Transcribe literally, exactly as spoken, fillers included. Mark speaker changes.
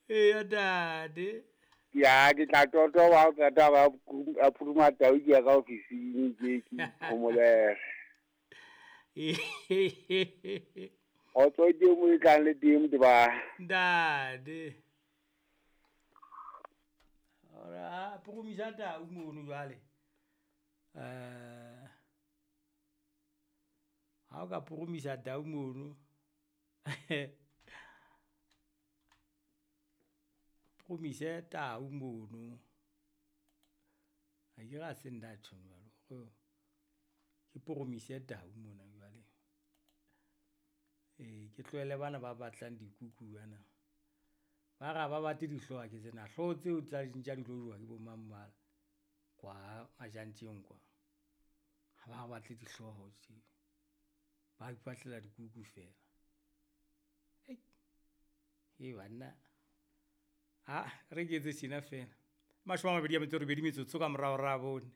Speaker 1: Eya ntate.
Speaker 2: Ya ke tla totoba ha o qeta ba a puruma tau ke ya ka ofising ke ke phomolele. Kgotso ke mo e tlang le teng motho ba.
Speaker 1: Ntate. Ora purumisa tau mono jwale. Eh ha o ka purumisa tau mono. Purumise tau mono. Ha ke ra se nna tjho jwalo. Ke purumise tau mona jwale. Ee ke tlohele bana ba batlang dikuku bana. Ba re ha ba batle dihlooho ke tsena hlooho tseo tsa dintja di tlo jowa ke bo mang mala kwa Majantjeng kwa. Ha ba batle dihlooho tje, ba ipatlela dikuku feela. Hei, he banna aa e re ke etse tjena feela. Mashome a mabedi a metso e robedi metsotso ka mora hora ya bone.